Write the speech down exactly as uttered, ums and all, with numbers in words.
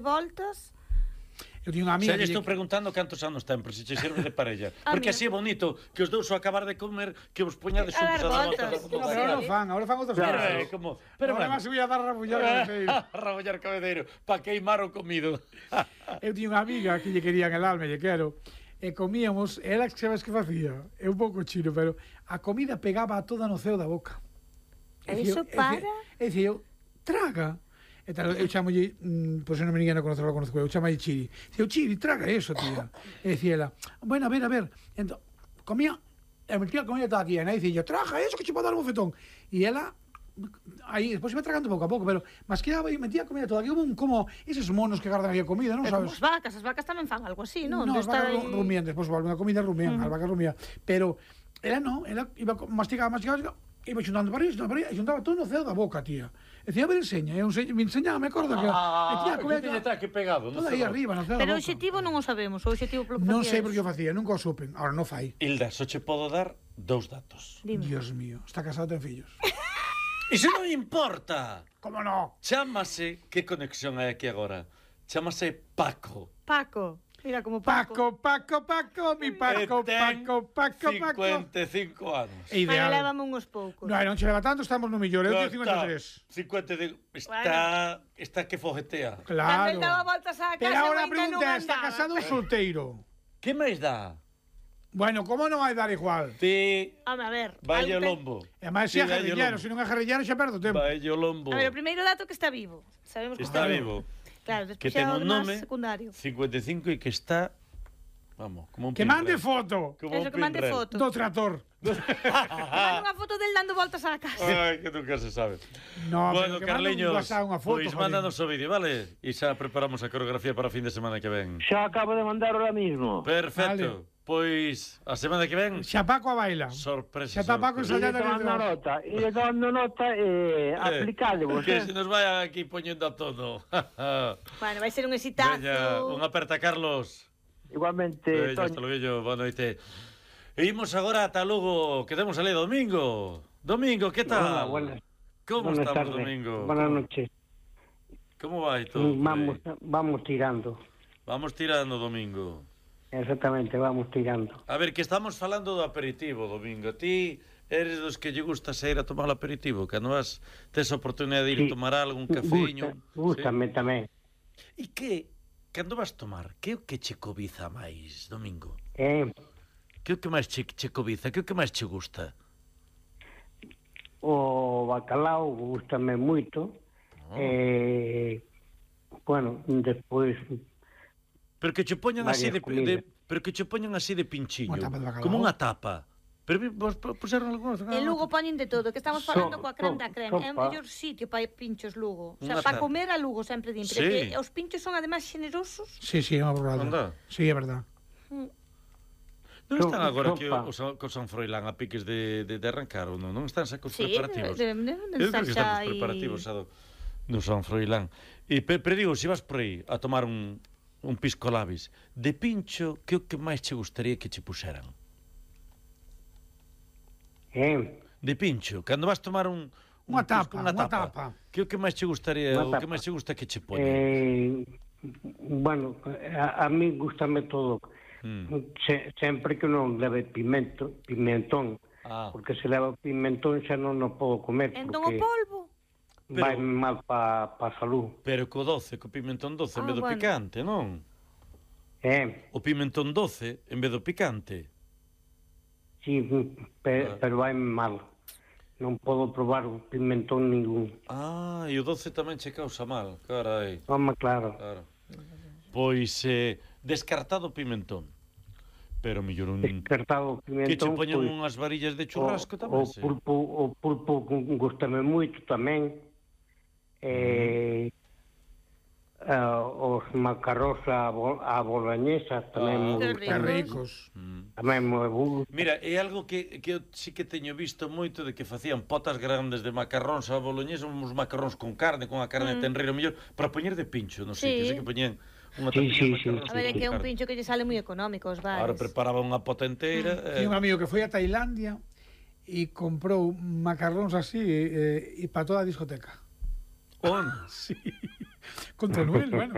voltas. Eu tiño unha amiga. Se lle estou preguntando cantos anos ten, por se che serve de parella. Porque así é bonito que os dous ao acabar de comer que vos poñades xuntos a dar voltas. No, pero non fan, agora fan outras cousas. Como, pero además se voy a dar rabullar cabeceiro. Rabullar cabeceiro, pa queimar o comido. Eu tiño unha amiga que lle querían el alma, lle quero, e comíamos, ela que sabes que facía, é un pouco chino, pero a comida pegaba toda no ceo da boca. E iso para? E dicía eu, traga. E tal, eu chamolle, mm, pois non me ninguén a conocer, lo conozco, eu chamolle Chiri. Dicía, Chiri, traga eso, tía. E dicía ela, bueno, a ver, a ver. Entón, comía, e metía a comida toda aquí, e dicía, traga eso que che pode dar un bofetón. E ela, aí, despois iba tragando pouco a pouco, pero masqueaba e metía a comida toda aquí, como, como eses monos que guardan aquí a comida, non sabes? Como as vacas, as vacas tamén fan algo así, non? Non, as vacas aí... rumían, despois volven a comida rumían, as vacas rumían. Pero ela non, ela iba mastigaba, mastigaba, iba xuntando para aí, xuntando para aí, e xuntaba todo no ceo da boca, tía. E dicía, a ver, enseña, e me enseñaba, me acordo que... Ah, que tiña está aquí pegado. Toda aí arriba, no ceo da boca. Pero o obxectivo non o sabemos, o obxectivo polo que Non sei por que o facía, nunca o supen, ahora non fai. Hilda, só che podo dar dous datos. Dime. Dios mío, está casado, ten fillos. Iso non importa. Como no? Chámase, que conexión hai aquí agora? Chámase Paco. Paco. Mira como Paco. Paco, Paco, Paco, mi Paco, Paco, Paco, Paco. cincuenta e cinco anos. É ideal. Aí lévame uns poucos. Non, non che leva tanto, estamos no millor. Eu teño cincuenta e tres. cincuenta e cinco. Está, está que fogetea. Cando Claro. ele daba voltas á casa, Pero ahora a ainda non pregunta é, está andaba. casado ou solteiro? Que máis dá? Bueno, como non vai dar igual? Ti, Home, a ver. vai o algo ten- lombo. E máis Ti, se é vai o guerrillero, lombo. se non é guerrillero xa perdo tempo. Vai o lombo. A ver, o primeiro dato que está vivo. Sabemos que Está vivo. Claro, Que despois ten xa o un demás nome, secundario. cincuenta e cinco, e que está, vamos, como un Que mande pinrel. foto Como Eso, un que mande pinrel. foto. do trator. Manda unha foto del dando voltas á casa. Ai, que nunca se sabe. No, Bueno, pero que Carliños, mande un WhatsApp, unha foto, pois joder. mándanos o vídeo, vale? E xa preparamos a coreografía para o fin de semana que ven. Xa acabo de mandar ahora mismo. Perfecto. Pois, a semana que ven, Xa Paco a baila. sorpresa. Xa está Paco sorpresa. E ensayando tomando aquí. nota, e tomando nota e aplicádevos, Que eh? se nos vai aquí poñendo a todo. Bueno, vai ser un exitazo. Veña, un aperta, Carlos. Igualmente, Veña, Toño. hasta luego, boa noite. E imos agora ata Lugo, quedemos ali domingo. Domingo, que tal? Hola, buenas. Como buenas estamos, tardes. Domingo? Buenas noches. Como vai todo? por Vamos, aí? vamos tirando. Vamos tirando, Domingo. Exactamente, vamos tirando. A ver, que estamos falando do aperitivo, Domingo. Ti eres dos que lle gusta sair a tomar o aperitivo, cando vas, tes a oportunidade de ir Sí. tomar algo, un cafeño. Gusta, gústame tamén. E que, cando vas tomar, que é o que che cobiza máis, Domingo? Eh, Que é o que máis che, che cobiza? Que é o que máis che gusta? o bacalao gústame moito. Oh. Eh, bueno, despois Pero que che poñan así de, varias comidas. de pero que che poñan así de pinchiño, Unha tapa de bacalao. como unha tapa. Pero vi- vos pu- puseron algunhas. En Lugo poñen de todo, que estamos falando So- coa creme da so- creme. É o sopa. mellor sitio para pinchos Lugo. O sea, Unha para tarde. comer a Lugo sempre din, pero Sí. que os pinchos son ademais xenerosos. Sí, sí, é unha Anda. borrada. Sí, é verdad. Non So- están agora aquí sopa. os, os San Froilán a piques de, de, de arrancar ou non? Non están xa cos Sí, preparativos? deben de, de, Eu creo que están estar xa os aí. preparativos xa do, do San Froilán. E, pero, pero digo, se vas por aí a tomar un, un pisco labis de pincho, que é o que máis che gustaría que che puseran? eh, De pincho, cando vas tomar un, un Unha pisco, tapa, unha unha tapa, tapa. que é o que máis che gustaría, Unha o que tapa. máis che gusta que che poñan? eh, bueno, a, a mí gustame todo. Mm. Se, sempre que non leve pimento, pimentón, Ah. porque se leva pimentón xa non o podo comer, Entón o porque polvo. vai Pero- mal pa, pa salud. Pero co doce, co pimentón doce en Ah, vez do bueno. picante, non? Eh, O pimentón doce en vez do picante. sí, pe, Ah. pero vai mal. Non podo probar o pimentón ningún. Ah, e o doce tamén che causa mal, carai. Home, claro. Claro. Pois eh, descartado o pimentón. Pero mellor un Descartado o que che pimentón, poñan pois, unhas varillas de o, churrasco o tamén, sí. pulpo, o pulpo gustame moito tamén. Eh, uh, os macarrós a, bo, a boloñesa tamén Ah, me que Que gustan. ricos. Mm. Tamén me gusta. Mira, é algo que, que eu sí que teño visto moito de que facían potas grandes de macarróns a boloñesa, uns macarróns con carne, con a carne mm. tenreiro mellor, para poñer de pincho, non sei, Sí. que sí que poñían unha Sí, tapiña sí, de sí. macarróns A ver, é con que é un carne. pincho que lle sale moi económico aos bares. Ahora preparaba unha pota inteira. Eh, Tiña un amigo que foi a Tailandia e comprou macarróns así e, e para toda a discoteca. On? Sí. Con Tenuel, bueno.